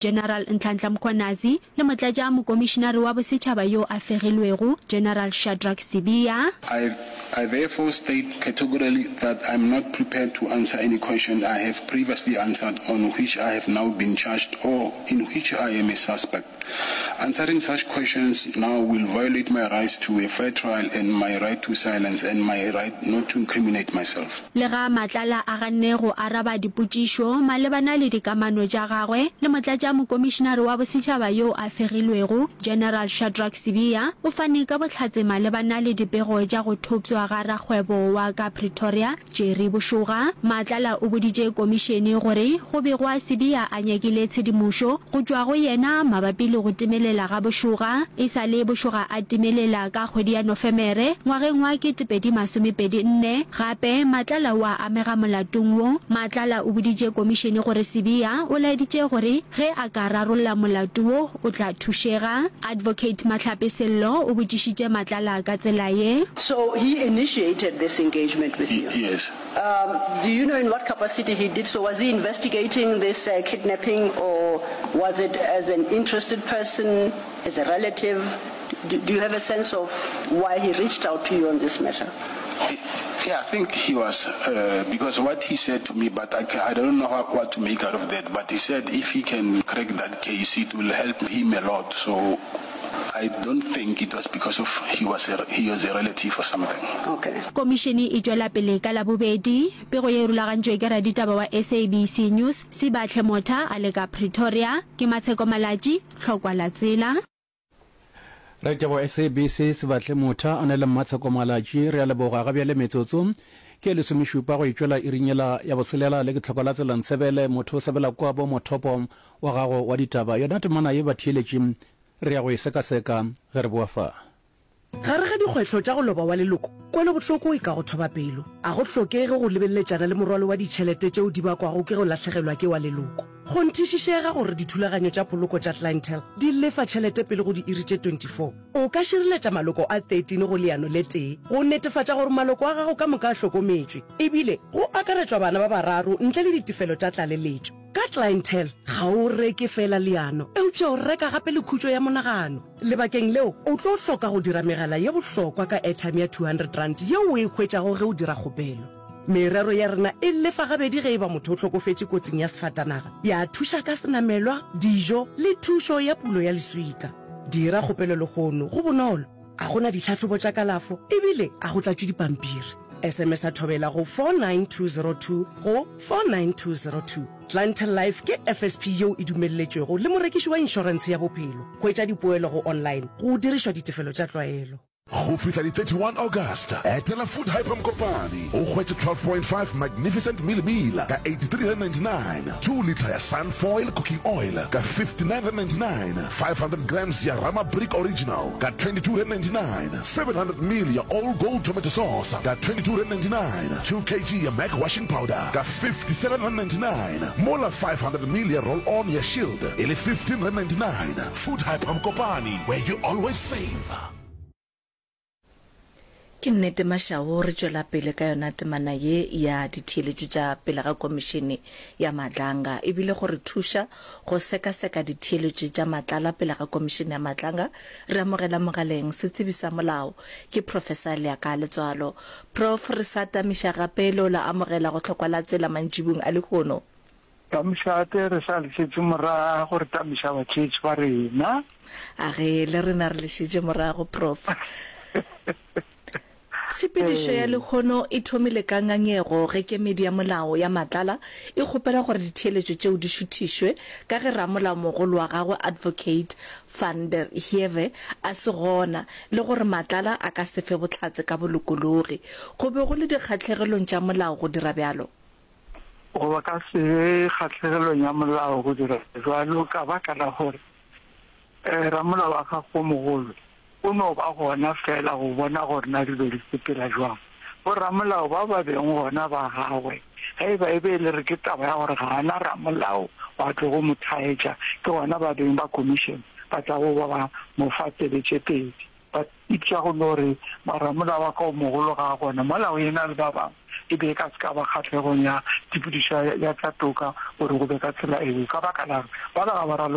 General Nhlanhla Mkhwanazi le motlatša mokomišinare wa bosetšhaba yo a fegilwego, General Shadrack Sibiya. I, I therefore state categorically that I am not prepared to answer any question I have previously answered on which I have now been charged or in which I am a suspect. Answering such questions now will violate my rights to a fair trial and my right to silence and my right not to incriminate myself. Le ga Matlala a ganne go araba dipotšišo malebana le dikamano tša gagwe le motlatšamokomišinare wa bosetšhaba yo a fegilwego, General Shadrack Sibiya, o fane ka bohlatse malebana le dipego tša go thopšwa ga rakgwebo wa ka Pretoria, Jerry Boshoga. Matlala o boditše komišene gore go begwa Sibiya a nyakile tshedimošo go tšwa go yena mabapi le go timelela ga Boshoga. E sa le Boshoga a timelela ka kgwedi ya Nofemere ngwageng wa 2024. Gape, Matlala o a amega molatong wo. Matlala o boditše komišene gore Sibiya o laeditše gore ge a ka rarolla molato wo o tla thušega. Advocate Mahlape Sello o botšišitše Matlala ka tsela ye. So he initiated this engagement with you? Yes. Um, do you know in what capacity he did so? Was he investigating this uh, kidnapping or was it as an interested person, as a relative? Do, do you have a sense of why he reached out to you on this matter? Yeah, I think he was, uh, because what he said to me, but I, I don't know how, what to make out of that, but he said if he can crack that case, it will help him a lot. So I don't think it was because of he was a, he was a relative or something. Okay. Komišene e tšwela pele ka Labobedi. Pego ye e rulagantšwe ke raditaba wa SABC News, Sibahle Motha a le ka Pretoria. Ke Matsheko Malatji, Tlhokwa la Tsela. Raditaba wa SABC Sibahle Motha a na le Mmatsheko Malatji. Re a leboga. Ga bjale metsotso ke e lesomešupa go e tšwela iring yela ya boselela. Le ke Tlhokwa la Tsela Ntshebele, motho o sebela kwabo mothopo wa gago wa ditaba. Yona temana ye batheeletši Re ya go e sekaseka ge re boa fa. Gare ga dikgwetlho tša go loba wa leloko, kwelobohloko e ka go thoba pelo. A go hlokege go lebeleletšana le morwalo wa ditšhelete tšeo di bakwago ke go lahlegelwa ke wa leloko. Kgonthišišega gore dithulaganyo tša poloko tša Clientele di lefa tšhelete pele go diiri tše 24. O ka šireletša maloko a 13 go leano le tee go netefatša gore maloko a gago ka moka a hlokometšwe, ebile go akaretšwa bana ba bararo ntle le ditefelo tša tlaleletšo. Ka Clientele, ga o reke feela leano, eupša o reka gape le khutšo ya monagano. Lebakeng leo, o tlo hloka go dira megala ye bohlokwa ka airtime ya R200 yeo o e hwetšago ge o dira kgopelo. Merero ya rena e lefa gabedi ge e ba motho o hlokofetše kotsing ya sefatanaga, ya thuša ka senamelwa, dijo le thušo ya pulo ya leswika. Dira kgopelo lehono, go bonolo, ga go na ditlhahlobo tša kalafo ebile ga go tlatšwe dipampiri. SMS-a Thobela go 49202 go 49202. Clientele Life ke FSP yeo e dumelletšwego le morekiši wa inšorentshe ya bophelo. Hwetša dipoelo go online go dirišwa ditefelo tša tlwaelo. Go fihla di 31 August, etela Food Hyper Mokopane o hwetše 12.5 Magnificent Mealie Meal ka R83.99, 2 litre ya Sunfoil Cooking Oil ka R59.99, 500 grams ya Rama Brick Original ka R22.99, 700 ml ya All Gold Tomato Sauce ka R22.99, 2 kg ya Mac Washing Powder ka R57.99, mola 500 ml ya Roll On ya Shield e le R15.99. Food Hyper Mokopane, where you always save. Ke nnete Mashao, re tšwela pele ka yona temana ye ya ditheeletšo tša pele ga Komišene ya Madlanga. E bile go re thuša go sekaseka ditheeletšo tša Matlala pele ga Komišene ya Madlanga, re amogela mogaleng setsebi sa molao, ke Professor Leaka Letswalo. Prof, re sa tamiša gape le o la amogela go hlokwa la tsela mantšibung a lehono. Tamišate, re sa le šetše morago, re tamiša batheetši ba rena. A ge, le rena re le šetše morago, Prof. Tshepedišo ya lehono e thomile ka ngangego ge kemedi ya molao ya Matlala e kgopela gore ditheeletšo tšeo di šuthišwe ka ge ramolaomogolo wa gagwe Advocate van der Heever a se gona le gore Matlala a ka se fe bohlatse ka bolokologi. Go be go le dikgahlegelong tša molao go dira bjalo. Go ba ka se be kgahlegelong ya molao go dira bjalo ka baka la gore ramolao wa gago o mogolo o no ba gona feela go bona gore na dilo di sepela jwang. Boramolao ba ba beng gona ba gagwe, ge e ba e be e le re ke taba ya gore ga a na ramolao wa tlogo mo thaetša, ke gona ba beng ba commission ba tlago ba ba mo fa tsebe tše pedi. Ba ipša go no re, Mara mola wa ka o mogolo ga a gona, mola o e-na le ba bangwe. E be e ka se ka ba kgahlegong ya tshepedišo ya tša toka gore go be ka tsela eo, ka baka la gore bala ga ba raloke.